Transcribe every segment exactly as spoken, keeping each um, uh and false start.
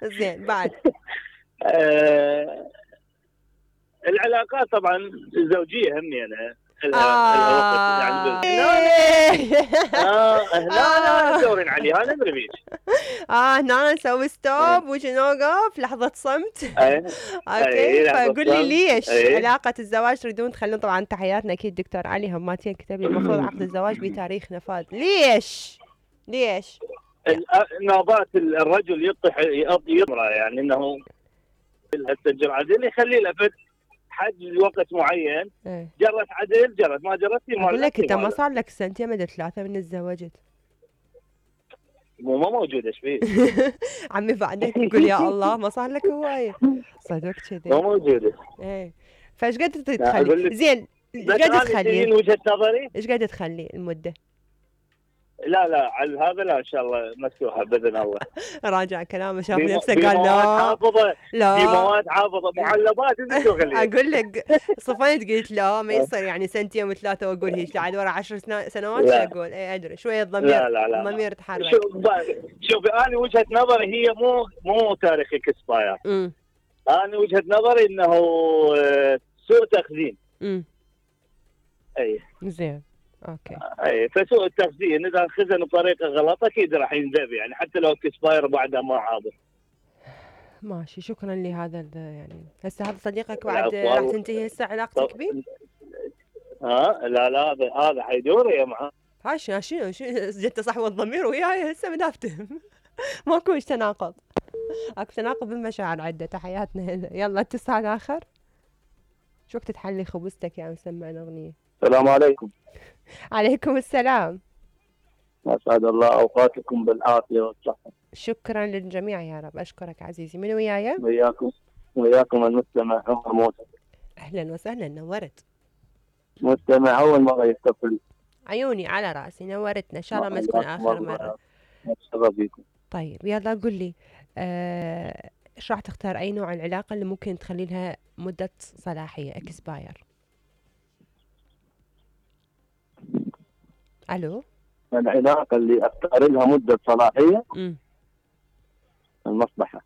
زين بعد. آه العلاقات طبعا الزوجيه همني انا لها لها وقت آه يعني هنا اه هنا دورين عليها انا ادري بيش اه هنا نسوي ستوب وش نوقف لحظة صمت. اوكي فقول لي ليش أي. علاقة الزواج تريدون تخلون؟ طبعا تحياتنا اكيد دكتور علي هماتين كتب لي المفروض عقد الزواج بتاريخ نفاذ. ليش؟ ليش؟ نوبات الرجل يطيح يطرى يعني انه السجل عدل يخلي له حد لوقت معين. ايه. جرت عدل جرت ما جرت ما اقول لك انت ما صار لك سنتين مدى ثلاثة من تزوجت. مو ما موجودة ايش فيه؟ عمي بعدين تقول يا الله ما صار لك هواية صدق كذي ما موجودة. ايه فايش قد تخلي؟ زين ايش قد تخلي؟ وجهة نظري ايش قد تخلي المدة؟ لا لا على هذا لا ان شاء الله مفتوحه باذن الله. راجع كلامه شاف نفسه قال لا حافظه لا في مواد حافظه معلبات انت اقول لك صفيت قلت لا ما يصير يعني سنتين وثلاثه واقول هيك عاد ورا عشر سنوات شو اقول؟ اي ادري شويه الضمير لا لا لا الضمير تحرك. شوف شوفي انا وجهه نظري هي مو مو تاريخ اكسباير. انا وجهه نظري انه سوء تخزين. امم اي زين اوكي. اي فسوء التخزين اذا خزن بطريقه غلط اكيد راح ينذب يعني حتى لو اكسباير بعدها ما عابر. ماشي شكرا لهذا يعني. هسه هذا صديقك بعد راح تنتهي هسه علاقتك به؟ ها لا لا هذا هذا حيدور يا معاه. ها شنو شنو جت صحوه الضمير وياي هسه من افتهم. ماكو تناقض. اكو تناقض بالمشاعر عده. تحياتنا يلا اتصال اخر. شو وقت تحلي خبزتك يا مسمعنا اغنيه؟ السلام عليكم. عليكم السلام. أسعد الله أوقاتكم بالعافية والصحة. شكرا للجميع يا رب. أشكرك عزيزي. من وياي؟ وياكم وياكم المستمع عمر موسى. أهلا وسهلا نورت. مستمع أول مرة يتصل. عيوني على رأسي نورتنا إن شاء الله ما تكون آخر مرة. أتشرف بكم. طيب يلا قل لي آه، إيش راح تختار؟ أي نوع العلاقة اللي ممكن تخلي لها مدة صلاحية اكسباير؟ ألو؟ العلاقة اللي أختار لها مدة صلاحية م. المصلحة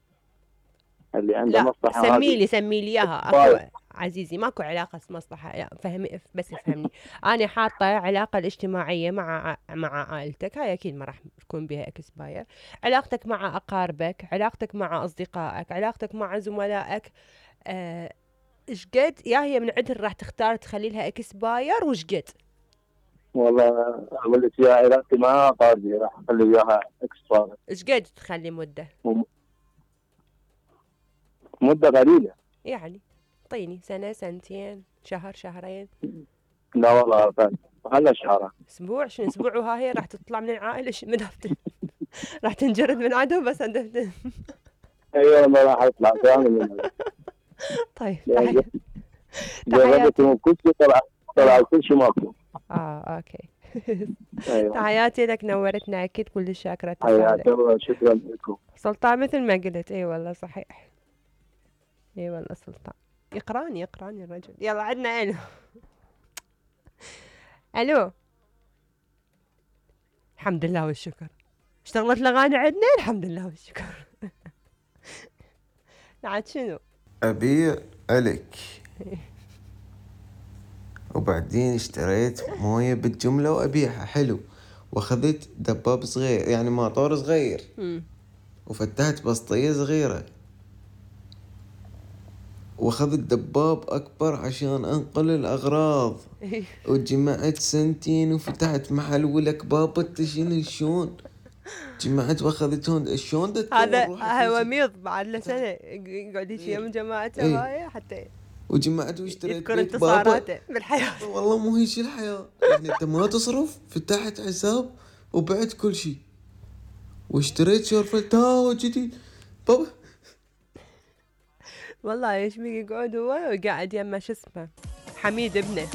اللي عندها مصلحة. سمي لي سمي لي إياها. أكو عزيزي ماكو علاقة مصلحة لا فهمي بس افهمني. أنا حاطة علاقة الاجتماعية مع مع عائلتك هاي أكيد ما راح تكون بها اكسباير. علاقتك مع أقاربك، علاقتك مع أصدقائك، علاقتك مع زملائك إيش آه قد يا هي من عدل راح تختار تخلي لها اكسباير وش قد؟ والله اقول لك يا علاقتي معها قاضي راح اخلي وياها اكسباير. ايش قد تخلي مده؟ مده قليله يعني طيني سنه سنتين شهر شهرين. لا والله خلها شهر اسبوع. شنو اسبوع وها هي راح تطلع من العائله من هفتن. راح تنجرد من عدو بس هندفتن. ايوه والله راح اطلع كامل. طيب تحياتي كل شيء طلع طلع كل شيء ماكو. اه اوكي. أيوة. تحياتي لك نورتنا اكيد كل شاكره. حياك الله شكرا لكم. سلطان مثل ما قلت اي والله صحيح. اي والله سلطان يقراني يقراني الرجل. يلا عندنا الو. الو الحمد لله والشكر. اشتغلت الاغاني عندنا الحمد لله والشكر. عاد شنو ابيع عليك. وبعدين اشتريت مويه بالجمله وابيعها حلو واخذت دباب صغير يعني ماطور صغير م. وفتحت بسطيه صغيره واخذت دباب اكبر عشان انقل الاغراض. وجمعت سنتين وفتحت محل والكباب التشين شلون جمعت واخذت هون شلون هذا هو ميض بعد له سنه يقعد يجي من جماعته هاي حتى وجمعت واشتريت يذكر انتصاراته بالحياه. والله مو هيك الحياه يعني انت ما تصرف فتحت حساب وبعت كل شيء واشتريت شرفة تاو جديد بابا. والله ايش بيقعد هو وقاعد يما شو اسمه حميد ابنه.